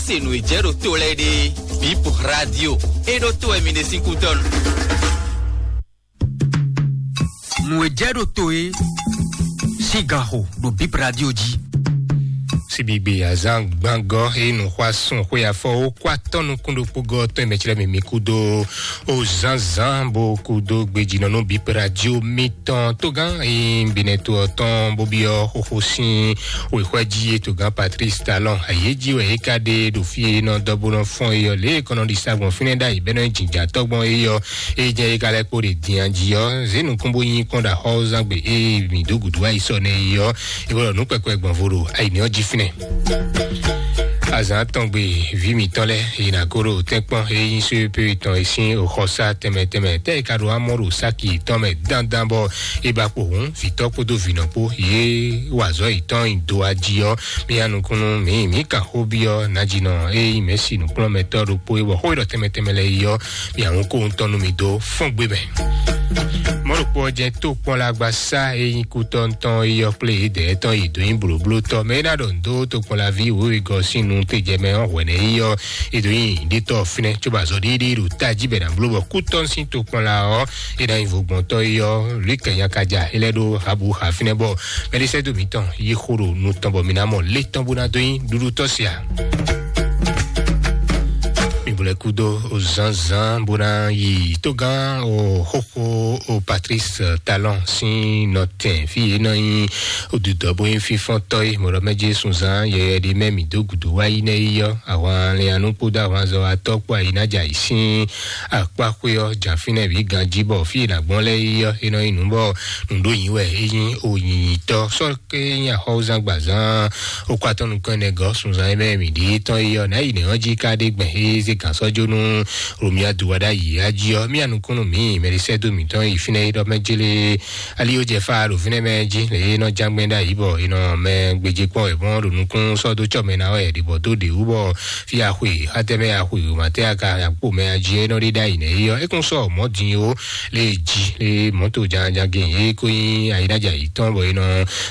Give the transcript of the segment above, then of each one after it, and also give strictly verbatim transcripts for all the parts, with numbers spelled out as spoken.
Se nǔ e jɛ ɖo to lɛ́ɛ ɖe, Bip Radio, e ɖo to wɛ mi ɖe sín kútɔ́nu. Nǔ e jɛ ɖo to e sín ganxo ɖo Bip Radio jí. Sibigbe azán gbangɔ e nǔxwásún xwé afɔ ó kó atɔ́ nukún ɖokpó gɔ́ tɔn e mɛ clɛ́ mǐ mǐ kú dó ó zǎnzǎn bó kú dó gbejínɔ nú Bip Radio mitɔn tógán e nyí Benɛto ɔ́ tɔn bó byɔ́ xóxó sín wěxwɛ́ jí e togán Patrice Talon ayé jí wɛ é ka ɖe ɖo fí e nɔ dɔ bó nɔ fɔ́n é ɔ́ lě e kɔnɔ ɖi sa gbɔn fínɛ́ ɖ'ayǐ bɛ́ nɔ nyí jǐnjǎtɔ́ gbɔn é ɔ́, é jɛ é ka lɛ́ kpo ɖe din jí ɔ́, zě nukún bó nyi kpɔ́n ɖo axɔ́zán gbe e mǐ dó gǔdo wá yi sɔ nɛ́ é ɔ́, é wɛ ɖɔ nǔ kpɛkpɛ gbɔn vo ɖo ayǐní ɔ́ jí fínɛ́. Azǎn tɔn gbe vǐ mǐtɔn lɛ́ɛ yi nǎ kó ɖo tɛ́nkpɔ́n e nyí só e pé tɔn e sín xɔsá tɛnmɛ tɛnmɛ tɛ́ e ka ɖo amɔ́ ɖo sáki tɔn mɛ dandan bɔ é ba kpo hǔn vǐtɔ́ kpódó vǐnɔ kpó yě wa azɔ̌ yětɔn nyi do ají ɔ́, mì ya nukúnnú mǐ mǐ kan xó byɔ́ nǎjínɔ e nyí mɛ̌si nǔkplɔ́nmɛtɔ́ ɖokpó é bɔ xó e ɖɔ tɛnmɛ tɛnmɛ lɛ́ɛ yi ɔ́, mì ya hun kó ŋutɔn nú mi dó fɔ́n gbe mɛ. Mɔ̌ ɖokpó ɔ́ jɛ́n tó kpɔ́n lá gba sá e nyí kú tɔn tɔn é yɔ kplé yědɛɛ tɔn yi dǒ nyi blǒblótɔ́ mɛ é ná ɖɔ nǔ dó tokpɔnlaví wěwegɔ́ sín nu tejɛ mɛ ɔ́ hwɛ̌ nɛ́ é yɔ é dǒ nyi ɖítɔ́ fínɛ́ cóbɔ azɔ̌ ɖiɖi ɖo tají bɛ̌ ná bló bɔ kú tɔn sín tokpɔnla ɔ́ é ná nyi vogbɔntɔ́ é yɔ lwǐkɛ́ nyakaja é lɛ́ ɖó habu ha fínɛ́ bɔ mɛɖisɛ́dó mǐtɔn yí xó ɖo nu tɔn bɔ mǐ ná mɔ lé tɔn bó ná dó nyi ɖuɖutɔ́ sia. Mi bo lɛ́ kúdó zǎnzǎn bó ná yi tógán o xóxó o Patrice Talon sín nɔtɛn fí yě nɔ nyi odudɔ bó nyí fífɔ́ntɔ́ é mɔ̌ ɖɔ mɛ Jesu zán yɛyɛ ɖé mɛ mǐ dó gǔdo wá yi nɛ́ yi ɔ́, ahwan lɛ́nyanú kpódó ahwanzɔ́watɔ́ kpó ayinájà yǐ sín akpáxwé ɔ́ jǎ fínɛ́ bǐ ganjí bɔ fí e nǎ gbɔn lɛ́ɛ yi ɔ́, é nɔ nyí nǔ bɔ nǔɖó yǐ wɛ é nyí o nyǐnyítɔ́ sɔ́ ké nyí axɔ́wúzán gbazán ó kó atɔ́ nukɔn ɛnɛ gɔ́ sunzan e mɛ mǐ ɖi tɔn yi ɔ́ nǎ yi nɛ̌ ɔ́ jí ká ɖé gbɛn é zé gǎn sɔ́ jó nú Romia do wá ɖ'ayǐ á jí ɔ́, mía nukúnnú mǐ mɛɖisɛ́dó mǐtɔn yi fínɛ́ é ɖɔ mɛ jélé ali ó jɛ fá ɖo fínɛ́ mɛ jí lě e nɔ ján gbɛn ɖ'ayǐ bɔ è nɔ mɛ gbéjé kpɔ́n wɛ mɔ́ ɖo nukún sɔ́ dó cɔ mɛ ná wɛ ɖě bɔ dó ɖě wú bɔ fí axwe xátɛ́ mɛ axwe wěmatɛ́ aka akpó mɛ ají é nɔ ɖe ɖ'ayǐ nɛ́ é ɔ́, é kún sɔ́ mɔ̌ din ó lé jí lé mɔ̌to jánján gé é kó nyí ayínájà yětɔn bɔ é nɔ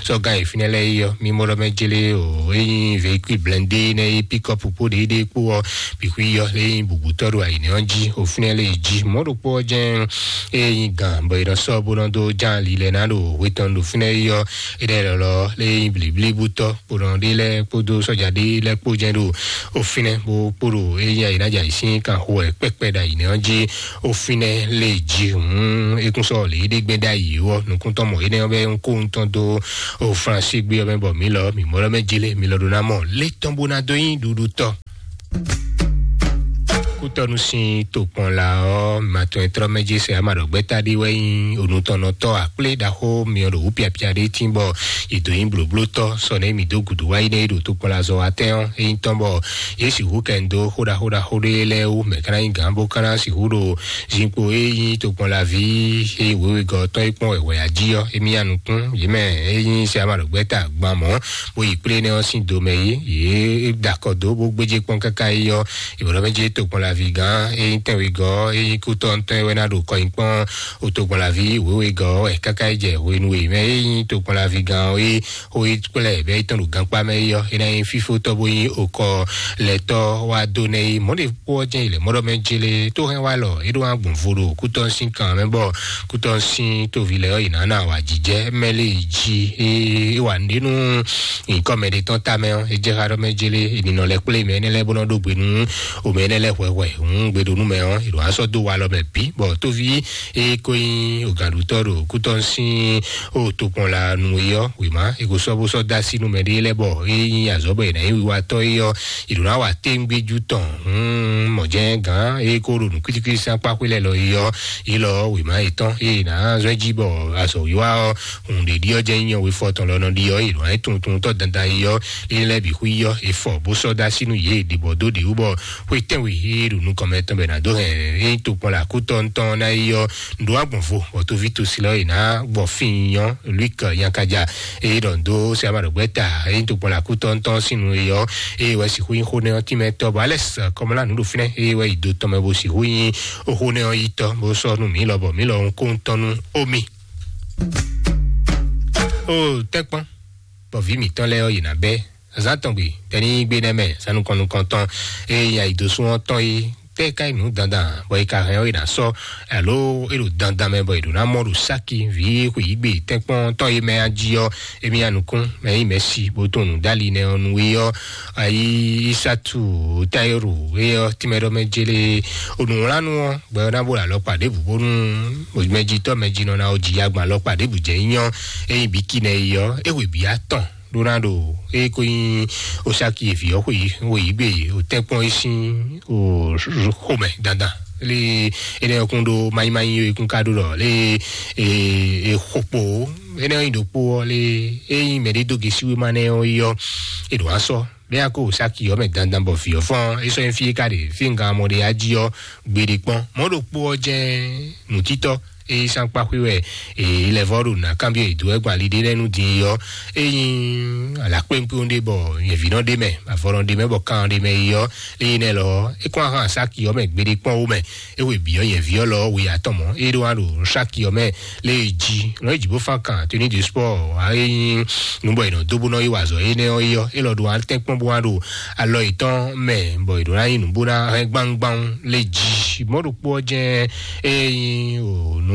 sɔ́ gán yi fínɛ́ lɛ́ɛ é ɔ́, mí mɔ ɖɔ mɛ jélé o é nyí véhicule blindé nɛ́ é pikɔpu kpó ɖě ɖé kpó ɔ́ bǐ xwí ɔ́ lé nyí bǔbútɔ́ ɖo ayǐnɛ́ ɔ́ jí o fínɛ́ lé jí mɔ̌ ɖokpó ɔ́ jɛ́n é nyí gǎn bɔ è nɔ sɔ́ bó nɔ dó ján lilɛ ná ɖo hwe tɔn ɖo fínɛ́ é ɔ́, é ɖɛ́ lɔlɔ lé nyí blǐblíbútɔ́ kponɔ ɖé lɛ́ɛ kpódó sɔ́ja ɖé lɛ́ɛ kpó jɛ́n ɖo o fínɛ́ bó kpó ɖo é nyí ayǐnájà yǐ sín kan xo wɛ kpɛkpɛ ɖo ayǐnɛ́ ɔ́ jí o fínɛ́ lé jí hǔn é kún sɔ́ lě ɖé gbɛ́ ɖ'ayǐ ɔ́ nukúntɔ́ mɔ énɛ́ ɔ́ bɛ́ ń kó ŋutɔn dó o Flánsi gbé ɔ́ mɛ bɔ mǐ lɔ mǐ mɔ ɖɔ mɛ jí lé mǐ lɔ ɖó ná mɔ lé tɔn bó ná dó nyí ɖuɖutɔ́. Kútɔ́nú sín tokpɔnla ɔ́, matɔn e tlɔ́ mɛ jí sɛ ama ɖɔ gbɛ́ta ɖé wɛ nyí onutɔnnɔtɔ́ akplé ɖaxó myɔ ɖo wǔ piapia ɖé tín bɔ è dǒ nyí blǒblótɔ́ sɔ nɛ́ mǐ dó gǔdo wá yi nɛ́ é ɖo tokpɔnla zɔ wá tɛ́n ɔ́, é nyí tɔn bɔ yě sixú kɛ ń dó xó ɖaxó ɖaxó ɖé lɛ́ɛ wú mɛ ka ná nyí gǎn bó ka ná sixú ɖo zinkpo e nyí tokpɔnlaví e nyí wěwegɔ́ tɔn e kpɔ́n wɛ̌wɛ́ jí ɔ́, émí ya nukún yě mɛ e nyí sɛ ama ɖo gbɛ́ta gban mɔ̌ bó yi kplé énɛ́ ɔ́ sín do mɛ é, yě da akɔ dó bó gbéjé kpɔ́n káká yi ɔ́, ìbɔ̀dɔ́ mɛ jẹ́ tokpɔnlaví gán e nyí tɛnwegɔ́ e nyí kútɔ́ tɔn e wɛ ná ɖo kɔ nyi kpɔ́n o tokpɔnlaví wěwegɔ́ wɛ káká yi jɛ hwenu e mɛ e nyí tokpɔnlaví gán ɔ́ é xó yi kplɛ bɛ́ yi tɔn ɖo gankpá mɛ é ɔ́, é ná nyí fífótɔ́ bó nyí okɔ lɛtɔ́ wá dó nɛ́ é mɔ̌ ɖe kpó ɔ́ jɛ́n yi lɛ̌ mɔ́ ɖɔ mɛ jélé tó hɛn wá lɔ é ɖó wá gbɔn vo ɖo kútɔ́ sín kan mɛ bɔ kútɔ́ sín tóvi lɛ́ɛ ɔ́ yě ná ná wǎ jijɛ mɛ lé jí é wǎ nɖé nú nyǐkɔ mɛ ɖé tɔn ta mɛ ɔ́ é jɛ xá ɖɔ mɛ jélé è nǐ nɔ lɛ́ kplé mɛ énɛ́ lɛ́ɛ bó nɔ ɖó gbe nú omɛ énɛ́ lɛ́ɛ hwɛhwɛ hǔn gbe ɖo nú mɛ ɔ́ è ɖo wá sɔ́ dó wa lɔ mɛ bǐ bɔ tóví é kó nyí ògǎnɖutɔ́ ɖo kútɔ́ sín o tokpɔn la nu é ɔ́ wěma è ko sɔ́ bó sɔ́ dó así nú mɛ ɖé lɛ́ɛ bɔ é nyí azɔ̌ bɔ è nǎ nyí wiwatɔ́ é ɔ́ è ɖǒ ná wa téŋgbéjú tɔn. Mɔ̌ jɛ́n gǎn é kó ɖo nǔ kwítíkwítí sín akpá xwé lɛ́ɛ lɔ é ɔ́ é lɔ wěma yětɔn é è nǎ zɔ́n jí bɔ azɔ̌wiwa ɔ́ hǔn ɖě ɖi ɔ́ jɛ́n nyí nyɔ̌we fɔ tɔn lɔ nɔ ɖi ɔ́ è nɔ nyí tuntuntɔ́ dandan é ɔ́ é lɛ́ bǐ xwí ɔ́ è fɔ bó sɔ́ dó así nú yě ɖě bɔ dó ɖě wú bɔ xwé tɛ́nwe é ɖo nukɔn mɛ tɔn bɔ è nǎ dó hɛn é tokpɔn lɛ akútɔ́ ŋutɔn ná é ɔ́ ndo agbɔn vo bɔ toví tosi lɔ è nǎ gbɔ fín nyɔ luik nyakaja eye ɖɔ ndo sɛ ama ɖɔgbɛ ta eye to kpɔn la kútɔ ŋutɔ sín nu eyɔ eye wɛ sixú nyi xó nɛ ɔ́ tínmɛ tɔ bɔ alɛ kɔmɔlá nu ɖo fínɛ eye wɛ yi do tɔn mɛ bo sixú nyi xó nɛ ɔ́ yi tɔ bó sɔ nu mǐ lɔ bɔ mǐ lɔ ń kó ŋutɔ nú omi. O tɛkpɔn bɔ vǐ mǐtɔn lɛ́ɛ ɔ́ yě ná bɛ́ Zan tɔn gbe tɛni gbe nɛ mɛ sanu kɔn nukɔntɔn, eye nyi ayi dó sún ɔ́ tɔn yi tɛ ka yi nǔ dandan bɔ yi ka hɛn ɔ́ yi na sɔ alo e ɖo dandan mɛ bɔ yi ɖo na mɔ ɖo saki vi xwe yi gbe tɛnkpɔn tɔn yi mɛ aji ɔ́, emi anukun mɛ yi mɛ si bo tɔn nu dali nɛ ɔ́ nu yi ɔ́, ayi isatu tayoro yi ɔ́ timɛ ɖɔ mɛ jele onùwlanu ɔ́ gbɛ ɔ́ na bo la alɔkpa ɖěbǔ bónú mɛjitɔ mɛjinɔ na ɔ́ ji agban alɔkpa ɖěbǔ jɛ nyɔ eyi bi ki nɛ yi ɔ́, e hwe bi atɔn ɖó ná ɖo eye ko nyí osaki evi ɔ́ xwe yi xwe yi gbe o tɛnkpɔn yi sín o xomɛ dandan le ene ɔkun ɖo mayi mayi yi kún ka ɖo ɖɔ le e xokpo ene yi ɖokpo ɔ́ le eyi mɛ ɖe do gesi wema nɛ ɔ́ yi ɔ́ e ɖo asɔ ɖe ya ko osaki ɔ́ mɛ dandan bɔ vi ɔ́ fɔn e sɔ nyi fi ka ɖe fi nga mɔ ɖe ya ji ɔ́ gbeɖe kpɔn mɔ ɖokpo ɔ́ jɛ nutitɔ eyi sankpa xwi wɛ eyi lɛ vɔ ɖo na kanbi eyi do ɛgba li ɖe lɛ nu din yɔ eyi ala kpɛnkpɛn ɖe bɔ yɛvi nɔ ɖe mɛ avɔ nɔ ɖe mɛ bɔ kan ɖe mɛ yi yɔ eyi nɛ lɔ e kɔn ahan saki yɔ mɛ gbeɖe kpɔn wo mɛ ewe bi yɔ yɛvi yɔ lɔ we atɔn mɔ e ɖo wa ɖo saki yɔ mɛ le ji lɔ eji bó fan kan tuni du sport wa eyi nubɔ yi nɔ do bó nɔ yi wa zɔ enɛ ɔ yi yɔ e lɔ ɖo wa tɛnkpɔn bó wa ɖo alɔ yětɔn mɛ bɔ yě ɖo ná nyi nǔ bó ná hɛn gbangban le ji mɔ ɖokpo ɔ́ jɛn eye nyi o nú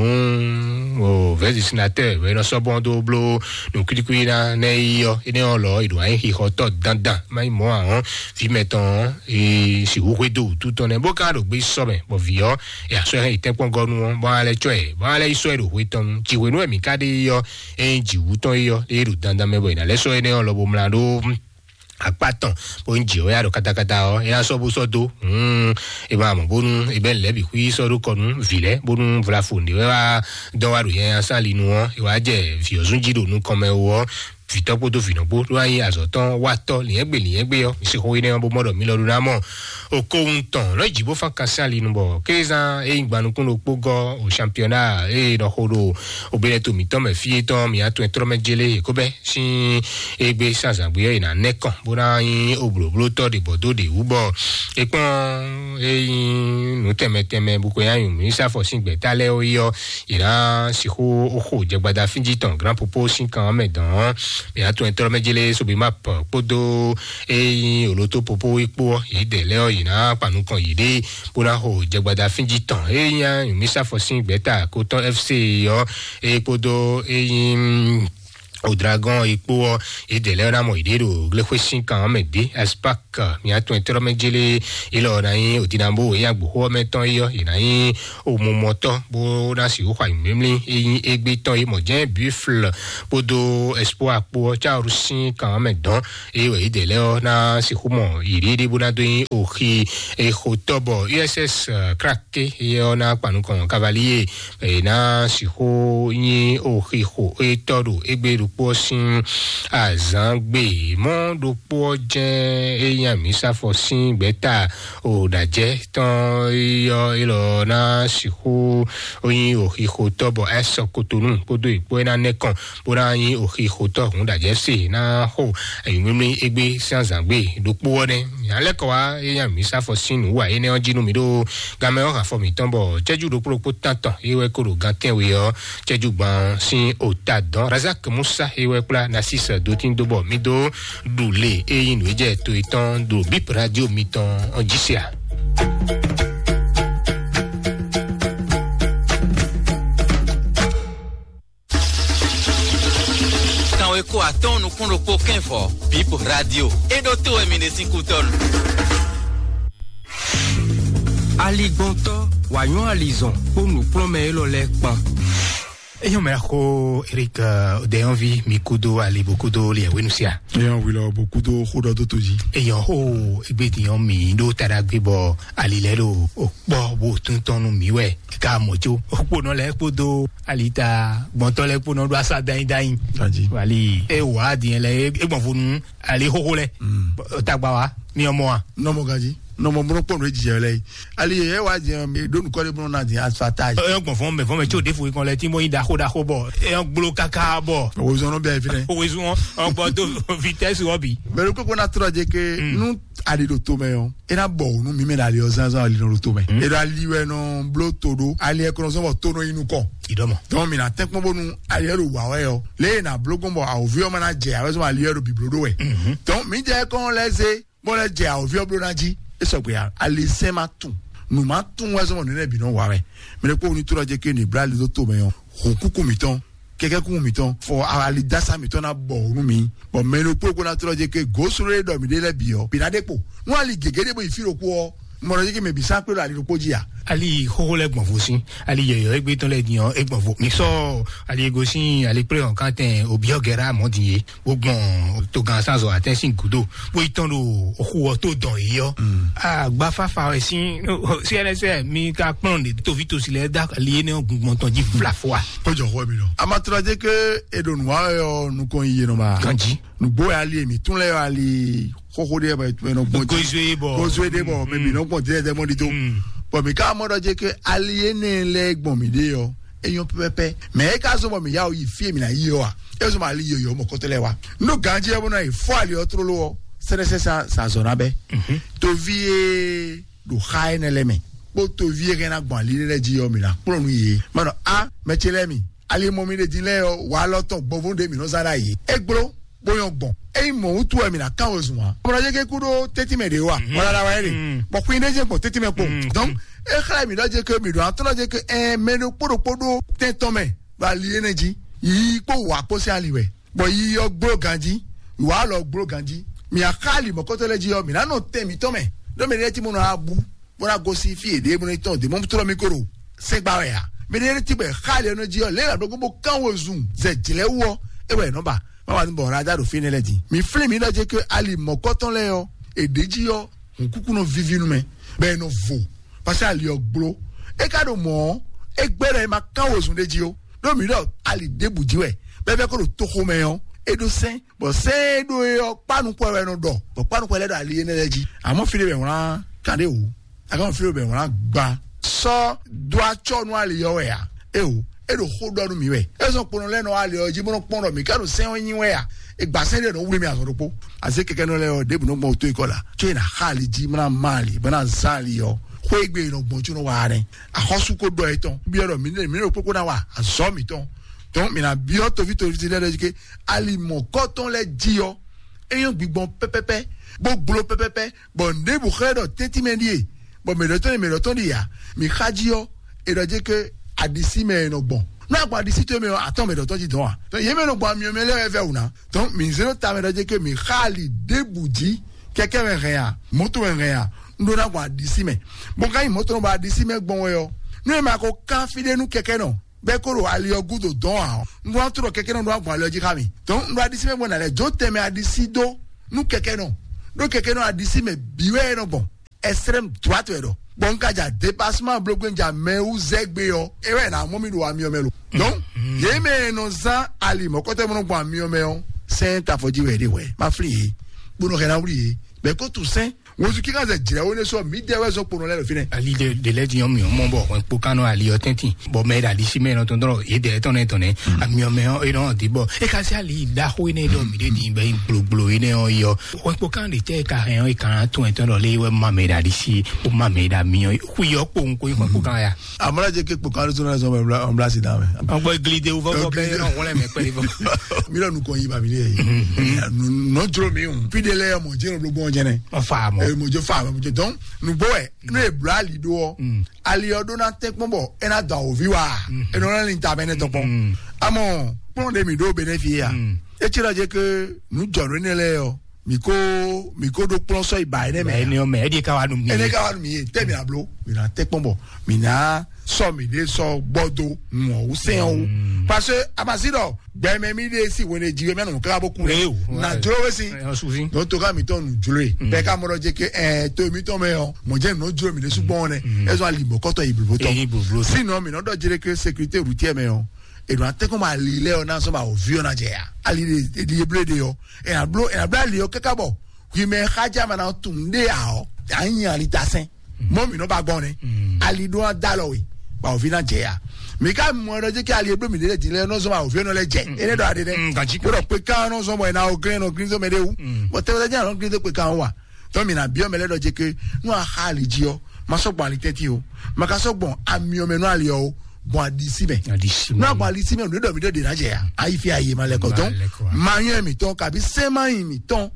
o vɛzisinatɛ wɛ nɔ sɔbɔn dó bló nǔ kwítíkwí ná nɛ yi ɔ́ énɛ́ ɔ́ lɔ yě ɖo ná nyi xixɔtɔ́ dandan má nyi mɔ̌ ahɔn vǐ mɛtɔn ɔ́ e sixú xwedó wǔtu tɔn nɛ́ bó ka ɖo gbé sɔ mɛ bɔ vǐ ɔ́ e asɔ́ hɛn yi tɛ́nkpɔ́n gɔ́ nú ɔ́ bɔ alɛ cɔ ɛ bɔ alɛ yi sɔ́ ɛ ɖo hwe tɔn nu jǐ hwenu wɛ mǐ ka ɖe yi ɔ́ e nyi jǐ wú tɔn yi ɔ́ e ɖo dandan mɛ bɔ è nǎ lɛ́ sɔ́ énɛ́ ɔ́ lɔ bó mlá ɖó akpa tɔn bó ń jɛ wɛ ya ɖo katakata ɔ ya sɔ bó sɔ do hmm e ma mɔ bónú e bɛ lɛ bi xwi sɔ ɖo kɔnu vi lɛ bónú vlafo ne wɛ wa dɔ wa ɖo yanya sali nu ɔ e wa jɛ viɔzun ji ɖo nukɔn mɛ wo ɔ vitɔ kpodo vinɔ kpo ɖo anyi azɔ tɔn wa tɔ liɛngbe liɛngbe ɔ mi si xo yi ne bó mɔ ɖɔ mi lɔ ɖo na mɔ o ko ŋutɔn lɔ ji bó fan kan sali nu bɔ kézan e yin gbanukun ɖo kpó gɔ o championnat e nɔ xo ɖo o bɛnɛ to mitɔn mɛ fi etɔn mi atɔn trɔ mɛ jele e ko bɛ sin egbe sanzangbe ɔ́ yi na nɛ kɔn bó ná nyí oblǒblótɔ́ ɖe bɔ dó ɖe wú bɔ é kpɔn é nyí nǔ tɛnmɛ tɛnmɛ bó ko nyí anyǔ mínísítà fɔ sín gbɛ̌ta lɛ́ɛ ó yi ɔ́, yě ná sixú xo jɛgbada fínjí tɔn grand popo sín kan ɔ́ mɛ dɔn ɔ́, mǐ ná tún ɛtɔ́ mɛ jélé sobi map kpódó é nyí olótó popo é kpó ɔ́, yě dɛ lɛ́ɛ ɔ́, yě ná kpa nukɔn yěɖée bó ná xo jɛgbada fínjí tɔn é nyí anyǔ mínísítà fɔ sín gbɛ̌ta kó tɔn F C ɔ́, é kpódó é nyí o dragon e kpó ɔ́, e dɛ lɛ́ ná mɔ yěɖée ɖo glexwé sín kan ɔ́ mɛ dé aspak mi atɔn e tɔ́ mɛ jélé e lɔ ná nyí òdinabo e agboxó ɔ́ mɛ tɔn é ɔ́, yě ná nyí omumɔtɔ́ bó ná sixú xɔ ayǐmímlí e nyí égbé tɔn e mɔ jɛ́n buifle kpódó espoir kpó ɔ́ cáwuru sín kan ɔ́ mɛ dɔn e wɛ e dɛ lɛ́ ɔ́ ná sixú mɔ yěɖée ɖé bó ná dó nyí oxi e xotɔ́ bɔ U S S crack ké yɛ ɔ́ ná kpa nukɔn cavalier e ná sixú nyí oxixo e tɔ́ ɖo égbé ɖokpó ɔ́ sín azǎn gbe mɔ̌ ɖokpó ɔ́ jɛ́n e nyí amǐsafɔ sín gbɛ̌ta o ɖajɛ tɔn yɔ élɔ́ ná sixú nyí oxixo tɔ́ bɔ ɛ sɔ kotonu kpódó ìkpó e ná nɛ́ kɔn bó ná nyí oxixotɔ́ hǔn ɖajɛ se ná xo ayǐmímí égbé sín azǎn gbe ɖokpó ɔ́ nɛ́. Nya lɛ́ kɔ wá e nyí amǐsafɔ sín nǔ wa énɛ́ ɔ́ jí nú mi ɖó gamɛ ɔ́ hafɔ mǐtɔn bɔ cɛ́jú ɖokpó ɖokpó tántɔn é wɛ kó ɖo gan tɛ́nwe ɔ́ cɛ́jú gban sín ota dɔn razak musa é wɛ kplá nasis dotín dó bɔ mí dó ɖu lě é nyí nǔ e jɛ to yětɔn ɖo bip radio mitɔn ɔ́ jí se a. Kanwe ko atɔn nukún ɖokpó kɛnvɔ bip radio é ɖó to wɛ mi ɖe sín kútɔnu. Aligbɔntɔ wanyɔ alizɔn kpó nukplɔnmɛ élɔ́ lɛ́ kpan. Eyɔn mɛ xo Eric Odeyɔnvi mi kudo ali bo kudo liɛ wenu sia. Eyɔn wilɔ bo kudo xo dɔ do to jí. Eyɔn xo egbe diyan mi ɖo taɖagbe bɔ ali lɛ ɖo okpɔ bo tuntɔn nu mi wɛ ka mɔ tso okponɔ lɛ kpodo alita gbɔntɔ lɛ kponɔ ɖo asa danyi danyi. Wali e wa diyan lɛ e gbɔn fonu ali xoxo lɛ tagba wa mi ɔmɔ wa. Nɔmɔ gaji. Nɔ mɔ mɔ kpɔn ɖo jijɛ lɛ yi. Ali yɛ wa jɛ ɖo nukɔ de bɔ na di asfaltage. Eyɔn gbɔn fɔn mɛ fɔn mɛ tso ɖefu kan lɛ ti mɔ yi daxo daxo bɔ eyɔn gblo kaka bɔ. Owezɔn nɔ bɛ fi nɛ. Owezɔn ɔgbɔ to vitesse wɔ bi. Mɛ ɖo kókó na trɔ jɛ ke nu ali ɖo to mɛ yɔ. E na bɔ nu mi mɛ na ali ɔ zanzan ali nɔ ɖo to mɛ. E ɖo ali wɛ nɔ blo to ɖo ali ɛ kɔnɔ zɔn bɔ to nɔ yi nukɔ. Idɔmɔ. Donc mi na tɛn kpɔn bonu ali ɛ ɖo wa wɛ yɔ. Le na blo gbɔn bɔ awɔvi ɔ ma na jɛ awɛ zɔn ali ɛ ɖo biblo ɖo wɛ. Donc mi jɛ kɔn lɛ ze bɔ lɛ jɛ awɔvi ɔ blo na ji. E sɔgbe ya ali sɛn ma tun nu ma tun wɛ zɔn bɔ nɛnɛ bi nɔ wa wɛ. Mi ne kpɔ ni to lɔ jɛ ke ni bla ali do to mɛ yɔ. Ho kuku mitɔn kɛkɛ kuku mitɔn fɔ ali dasa mitɔn na bɔ onu mi. Bɔn mɛ ɖokpó kó na trɔ jɛ ke goslo e ɖɔ mi ɖe lɛ bi ɔ bi na ɖe kpo nu ali gege ɖe bo yi fi ɖokpó ɔ mɔ ɖɔ jɛ ke mɛ bi sa kpe ɖo ali ɖokpó ji a. Ali xoxo lɛ gbɔn fo sin ali yɔyɔ egbe tɔn lɛ din ɔ e gbɔn fo mi sɔ ali ego sin ali kple ɔn kan tɛn obiɔ gɛra mɔ din ye wo gbɔn togan sanzɔ atɛn sin gudo wo yi tɔn ɖo oxu ɔ to dɔn yi ɔ. Agbafafa wɛ sin cnsɛ mi ka kplɔn de tovi tosi lɛ da ali yɛ ne gungbɔn tɔn ji fla fo wa. Kó jɔ xɔ mi lɔ. Amatura jɛ ke e ɖo nua yɔ nukɔn yi yɛn ma. Ganji. Nugbo ya ali mi tún lɛ yɔ ali xoxo de bɔ etun ɛnɔ gbɔn. Gozo ye bɔ. Gozo de bɔ mɛ mi nɔ gbɔn de ɛdɛ mɔ di to. Bɔn mi ka mɔ dɔ jɛ ke ali yɛ ne lɛ gbɔn mi de yɔ eyɔn pɛpɛpɛ mɛ e ka zɔn bɔ mi ya yi fi mi na yi yɔ wa e zɔn ali yɔ yɔ mɔ kɔtɔ lɛ wa. N'o ganji yɛ bɔ na yi fɔ ali yɔ tlolo wɔ sɛnɛsɛ sa sa zɔn na bɛ. Tovi ye ɖo xa enɛ lɛ mɛ kpó tovi e hɛn ná gbɔn ali lɛ jí ɔ́ mi ná kplɔ́n nú yě. Mɛ ɖɔ a mɛ ce lɛ́ɛ mi ali mɔ mi ɖe din lɛ́ɛ ɔ́ wa lɔ tɔn gbɔnvó ɖe mi nɔ zán ɖ'ayǐ. É gbló bó nyɔ́ gbɔn. Ényí mɔ̌ wútu wɛ mi ná kán wezun ǎ. Bɔlɔjɛgɛ kú ɖó tɛ́tí mɛ ɖě wa. Wala la wɛ ɖe. Bɔ xwin ɖé jɛ gbɔn tɛ́tí mɛ kpó. Donc e xlɛ́ mi ɖɔ jɛ ke mi ɖo atɔ́ jɛ ke ɛ mɛ ɖokpó ɖokpó ɖó tɛn tɔn mɛ ɖo ali énɛ́ jí. Yi kpó wǎ kpó sín ali wɛ. Bɔ yi ɔ́ gbló ganjí, wǎ lɔ gbló ganjí. Mi axá ali mɔ̌kɔtɔ́ lɛ́ɛ jí ɔ́, mi ná nɔ tɛn mǐtɔn mɛ, ɖó mɛ ɖé tí mo nɔ abú, bó ná gosín fí yěɖée bó ná tɔn dě mɔ tlɔ́ mì kó ɖo sɛ́gbá wɛ ǎ. Mɛ ɖé tí bɔ xá ali ɔ́ nɔ jí ɔ́, lě e ɖokpó bó kán wezun zɛ jlɛ̌ wú ɔ́, é wɛ è nɔ ba. Má wà ní bɔ ɔ́ ná dá ɖo fínɛ́ lɛ́ɛ din. Mi flín mi ɖɔ jɛ ké ali mɔ̌kɔtɔ́ lɛ́ɛ ɔ́, è ɖě jí ɔ́, hǔnkúkú nɔ víví nú mɛ, bɔ è nɔ vo, paseke ali ɔ́ gbló. É ka ɖo mɔ̌ ɔ́, é gbɛ́ ɖɔ è ma kán wezun ɖé jí ó. Ɖó mǐ ɖɔ ali ɖěbǔ jí wɛ, bɔ é vɛ́ kó ɖo toxo mɛ ɔ́, é ɖó sɛ́n, bɔ sɛ́n e ɖó é ɔ́, kpánukpɔ wɛ nɔ ɖɔ, bɔ kpánukpɔ lɛ́ɛ ɖɔ ali énɛ́ lɛ́ɛ jí. Amɔ̌ fí ɖé wɛ wlán kan ɖé wǔ, akan fí ɖé wɛ wlán gba. Sɔ́ dó acɔ́ nú ali ɔ́ wɛ ǎ. Éwo, é ɖo xó ɖɔ nú mǐ wɛ. É zɔn kponɔ lɛ́ɛ nɔ ali ɔ́ jí bó nɔ kpɔ́n ɖɔ mǐ ká ɖo sɛ́n ɔ́ nyi wɛ a? È gba sɛ́n ɖé nɔ wlí mì azɔn ɖokpó. Azé kɛkɛ nɔ lɛ́ɛ ɔ́, ɖěbǔ nɔ gbɔn tó ikɔ la. Có è nǎ xa ali jí, bó ná má ali, bó ná zán ali ɔ́. Xwé e gbe è nɔ gbɔn có nɔ wa nɛ́. Axɔ́sú ko ɖɔ etɔn. Byɔ́ ɖɔ mǐ ɖe mǐ ɖo kpókpó ná wa azɔ̌ mǐtɔn. Tɔn mǐ ná byɔ́ toví toví lɛ́ɛ ɖɔ jí ké ali mɔ̌kɔtɔn lɛ́ɛ jí ɔ́, é nyɔ́ gbigbɔn pɛ́pɛ́pɛ́, bó gbló pɛ́pɛ́pɛ́, bɔ nǔɖé bǔ xlɛ́ ɖɔ tɛ́ntin mɛ ɖíe, bɔ mɛ ɖɔtɔ́ ne mɛ ɖɔtɔ́ ɖi ǎ. Mǐ xa jí ɔ́, è ɖɔ jɛ ké aɖisí mɛ è nɔ gbɔn. Nú a gbɔn aɖisí towe mɛ ɔ́, atɔ́ mɛ ɖɔtɔ́ jí dɔn a? Tɔ yě mɛ nɔ gbɔn amyɔ mɛ lɛ́ɛ wɛ vɛ́ wǔ ná. Tɔn mǐ zé ɖó ta mɛ ɖɔ jɛ ké mǐ xa ali ɖěbǔ jí, kɛkɛ mɛ hɛn a, mɔ̌to mɛ hɛn a, un ɖó ná gbɔn aɖisí mɛ. Bɔ ka nyi mɔ̌to nɔ bɔ aɖisí mɛ gbɔn wɛ ɔ́, nú è ma ko kán fí ɖé nú kɛkɛ nɔ, bɛ́ kó ɖo ali ɔ́ gúdo dɔn ǎ ɔ́, un ɖó ná trɔ kɛkɛ nɔ ɖó ná gbɔn ali ɔ́ jí xá mi. Tɔn un ɖó aɖisí mɛ gbɔn nǎ lɛ́ jó tɛnmɛ aɖisí dó nú kɛkɛ nɔ, ɖó kɛkɛ nɔ aɖisí mɛ bǐ wɛ é nɔ gbɔn. Extrême droite wɛ ɖɔ. Bɔn un ka ja dépassement blogbé un ja mɛ wú zɛ gbé ɔ́, é wɛ ná mɔ mi ɖo amyɔ mɛ lo. Donc yě mɛ e nɔ zán ali mɔ̌kɔtɔ́ mɔ nɔ gbɔn amyɔ mɛ ɔ́, sɛn tafɔjí wɛ ɖe wɛ. Ma flin yě, kponɔ hɛn ná wuli yě. Bɛ́ kó tu sɛn. Wozu kíkan zɛ jlɛ wo ne sɔ mi dɛ wɛ zɔ kponɔ lɛ ɖo fínɛ. Ali de de lɛ di yɔn mi mɔ bɔ wɛn kpo kan nɔ ali yɔ tɛntin bɔ mɛ da di si mɛ nɔ tɔn dɔrɔ ye dɛ tɔn nɛ tɔn nɛ ami ɔmɛ ɔ e nɔ di bɔ e ka se ali da xo ne dɔ mi de di bɛ gblogblo yi ne ɔ yɔ wɛn kpo kan de tɛ ka hɛn ɔ e kan to ɛtɔn dɔ le wɛ ma mɛ da di si o ma mɛ da mi ɔ xu yɔ kpo ŋko yi wɛn kpo kan ya. Amala je ke kpo kan do na zɔn bla bla si da mɛ. Ɔgbɔ gili de wo fɔ bɔ bɛ yɔrɔ wọlé mɛ pɛlɛ fɔ. Mi lɔ nukɔ yi ba mi de yi. Nɔ jolo mi o. Fi de lɛ mɔ jɛnɛ blo gbɔn jɛnɛ. Ɔfa mɔ. Mɔ jɛ fa mɔ jɛ dɔn. Nugbo wɛ n'o ye bla ali do ɔ ali ɔ do na tɛ kpɔn bɔ e na dɔ awovi wa e nɔ na ni ta bɛ ne tɔ kpɔn amɔ kplɔn de mi do bɛ ne fi ya e tsi la jɛ ke nu jɔ ne ne lɛ yɔ mi ko mi ko do kplɔn sɔ iba ne mɛ ne yɔ mɛ ɛdi ka wa nu mi ene ka wa nu mi ye tɛ mi na blo mi na tɛ kpɔn bɔ mi na sɔ mi de sɔ gbɔ do mɔ o sɛn o parce que amasi dɔ gbɛmɛ mi de si wele ji mɛ nu kaka bo ku Ee, o, na o, jolo we si o, o, sufi. Donc to ka mi tɔn nu jolo ye bɛɛ ka mɔ dɔ je ke ɛ to mi tɔn mɛ yɔ mɔ jɛ nɔ jolo mi de sugbɔn nɛ ɛzɔ ali bɔ kɔtɔ yi blo tɔ Ee, blo, blo. Sinon mi nɔ dɔ jere ke sécurité routière mɛ yɔ e do atɛ ko ma li lɛ yɔ na sɔ ma o vi yɔ na jɛ ya ali de de ye ble de yɔ e na blo e na bla li yɔ kaka bɔ hui mɛ xaja ma na tun de ya ɔ a nyi ali ta sɛn. Mɔ mi nɔ ba gbɔn nɛ. Ali ɖo a da lɔ we. Ba ovi na jɛ ya. Mi ka mɔ ɖɔ jɛ kí ali eblo mi ɖe di lɛ nɔ zɔn ba ovi nɔ lɛ jɛ. Ene ɖɔ ade dɛ. Gaji. Ko ɖɔ pe kan nɔ zɔn bɔ ena o grin nɔ grin zɔn mɛ de wu. Bɔ tɛmɛ tɛ jɛ nɔ grin zɔn pe kan wa. Tɔ mi na biɔ mɛ lɛ ɖɔ jɛ ke nɔ a xa ali ji ɔ. Ma sɔ gbɔn ali tɛti o. Ma ka sɔ gbɔn ami ɔ mɛ nɔ ali ɔ o. Gbɔn adisi mɛ. Adisi mɛ. Nɔ gbɔn adisi mɛ o ne ɖɔ mi ɖɔ de na jɛ ya. Ayi fi ayi ma lɛ kɔ dɔn. Ma yɔn mi tɔn kabi sɛ ma yi mi tɔn.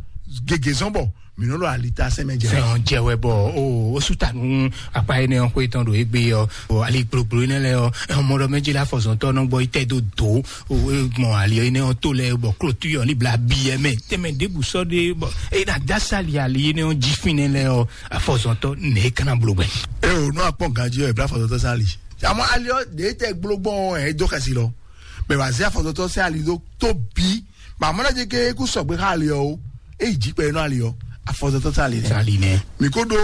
Gege zɔn bɔ mi nɔ ɖo ali ta sɛ mɛ jɛ. Fɛn ɔn jɛ wɛ bɔ o o su ta nu akpa yi ne ɔn xwe tɔn ɖo egbe ɔ o ali gbloglo yi ne lɛ ɔ ɛ mɔ ɖɔ mɛ dzi la fɔzɔntɔ nɔ gbɔ yi tɛ do do o e gbɔn ali yi ne ɔn to lɛ bɔ klotu yɔ ni bla bi yɛ mɛ tɛmɛ debu sɔ de bɔ e na da sali ali yi ne ɔn dzi fin ne lɛ ɔ afɔzɔntɔ ne kana blo gbɛ. E o nɔ akpɔ ganji ɔ ebla fɔzɔntɔ sali. Àmọ́ ali ɔ de tɛ gblogbɔn ɛ dó xɛsi lɔ. Mɛ wazia fɔzɔntɔ sɛ ali do tó bi. Bàmúlá jẹ ké kú sɔgbé ká ali ɔ o. Eyi jí pɛ inú ali ɔ. Afɔzɔtɔ tá ali nɛ. Tá ali nɛ. Mi ko ɖo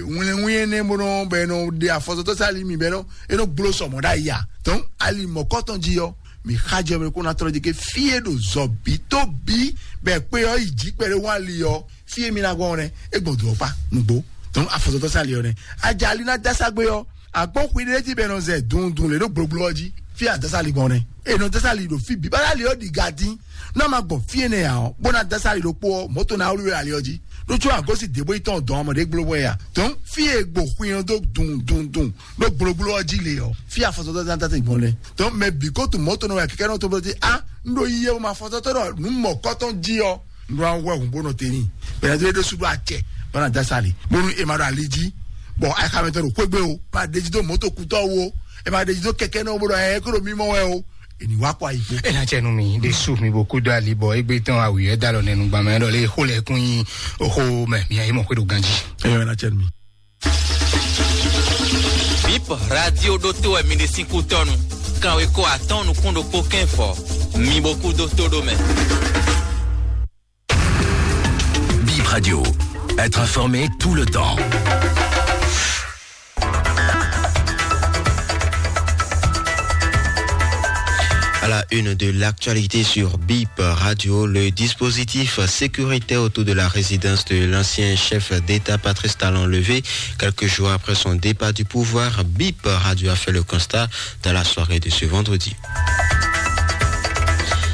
wínlɛ́nwín énɛ́ bó nɔ bɛ nɔ ɖe afɔzɔtɔ tá ali mi bɛ nɔ e nɔ gblo sɔmɔ ɖe ayi a. Tɔn ali mɔkɔtɔn jí ɔ. Mi xa jɛ mi kó na trɔ jẹ ké fie ɖo zɔbi tó bi bɛ kpé ɔ yi jí pɛ ɖe wá ali ɔ. Fie mi na gbɔn nɛ. E gbɔn do ɔkpa nugbo. Tɔn afɔzɔtɔ tá ali ɔ nɛ. Ajali na dasa gbé ɔ. Akpɔ́n xwi ɖé jí bɔ è nɔ zɛ dundun lě ɖo gblogblo ɔ́ jí, fí a dásá ali gbɔn nɛ́. È nɔ dásá ali ɖo fí bǐ, bá ali ɔ́ ɖi ga dín. Nú a ma gbɔn fí énɛ́ ǎ ɔ́, bó ná dásá ali ɖokpó ɔ́, mɔ̌ tɔn ná wlí wɛ ali ɔ́ jí. Ɖó có agɔ́ sín dě bó yi tɔn dɔn amɔ ɖě gblo wɛ a. Tɔn fí e gbo xwi ɔ́ dó dundundun ɖó gblogblo ɔ́ jí le ɔ́, fí afɔsɔtɔ́ ná dásá gbɔn nɛ́. Tɔn mɛ bǐ ko tunwun mɔ̌ tɔn nɔ wɛ kɛkɛ́ nɔ tɔn bó dí á, un ɖo yiyi e ma fɔ sɔ́ tɔ́ ɖɔ nǔ mɔ̌kɔ́tɔn jí ɔ́. Nɖo awɔ ɛhun bó nɔ te n'i. Bɛnɛ do ɖo suɖo acɛ bana da sali. Bonu e ma ɖo ali jí. Bɔn ayixamɛtɔ ɖo xwegbe o, ma ɖe jí do mɔto kutɔ wo, e ma ɖe jí do kɛkɛ nɔ bó ɖo ɛ kó ɖo mímɔ wɛ o. Eni wa kɔ ayi kpo. Ena cɛ nu mi de su mi bo kudo ali bɔ egbe tɔn awi ɛ dalɔ nɛnu gbamɛ ɖɔ le xo lɛ kun yi oxo mɛ mi ayi mɔ xwe ɖo ganji. Eyɔ ena cɛ nu mi. Bip radio ɖótó wɛ mi ɖe sín kútɔ́nu. Kanwekɔ atɔ́ɔ́n nukún ɖokpó kɛ́n fɔ. Mi bo kú dó tó ɖó mɛ. Bip Radio. Être informé tout le temps. À la une de l'actualité sur Bip Radio, le dispositif sécuritaire autour de la résidence de l'ancien chef d'État Patrice Talon levé quelques jours après son départ du pouvoir. Bip Radio a fait le constat dans la soirée de ce vendredi.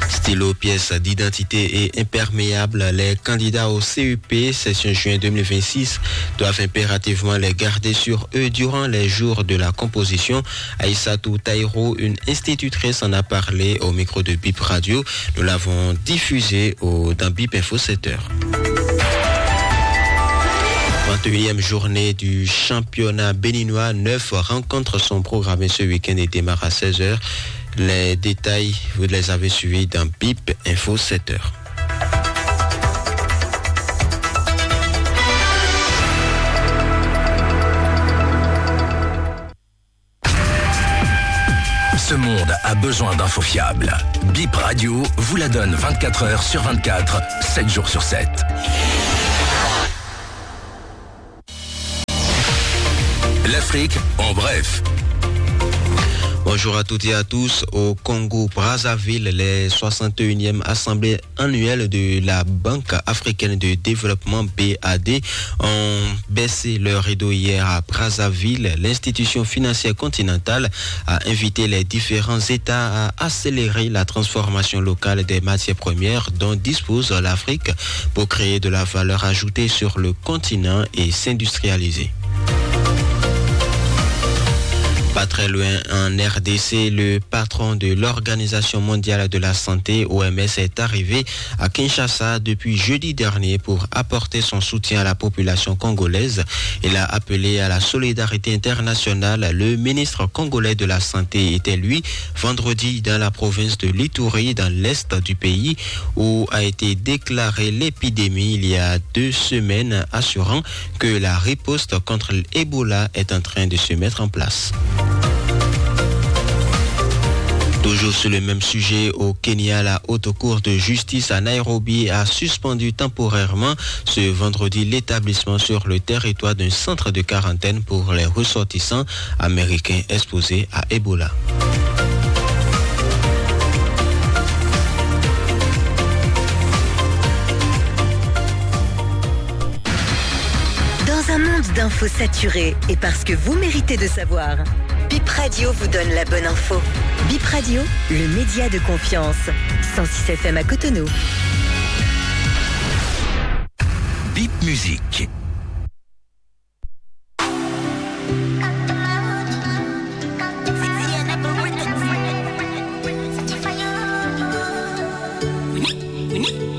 Stylo, pièce d'identité et imperméable, les candidats au C E P session juin deux mille vingt-six doivent impérativement les garder sur eux durant les jours de la composition. Aïssatou Taïrou, une institutrice, en a parlé au micro de Bip Radio. Nous l'avons diffusé au, dans Bip Info sept heures. Vingt et unième journée du championnat béninois. Neuf rencontres sont programmées ce week-end et démarrent à seize heures. Les détails, vous les avez suivis dans Bip Info sept heures. Ce monde a besoin d'infos fiables. Bip Radio vous la donne vingt-quatre heures sur vingt-quatre, sept jours sur sept. L'Afrique en bref. Bonjour à toutes et à tous. Au Congo Brazzaville, les soixante et unième assemblées annuelles de la Banque africaine de développement, B A D, ont baissé leur rideau hier à Brazzaville. L'institution financière continentale a invité les différents États à accélérer la transformation locale des matières premières dont dispose l'Afrique pour créer de la valeur ajoutée sur le continent et s'industrialiser. Pas très loin, en R D C, le patron de l'Organisation mondiale de la santé, O M S, est arrivé à Kinshasa depuis jeudi dernier pour apporter son soutien à la population congolaise. Il a appelé à la solidarité internationale. Le ministre congolais de la Santé était, lui, vendredi dans la province de l'Ituri, dans l'est du pays, où a été déclarée l'épidémie il y a deux semaines, assurant que la riposte contre l'Ebola est en train de se mettre en place. Toujours sur le même sujet, au Kenya, la Haute Cour de justice à Nairobi a suspendu temporairement ce vendredi l'établissement sur le territoire d'un centre de quarantaine pour les ressortissants américains exposés à Ebola. Dans un monde d'infos saturées et parce que vous méritez de savoir, Bip Radio vous donne la bonne info. Bip Radio, le média de confiance. Cent six F M à Cotonou. Bip Musique.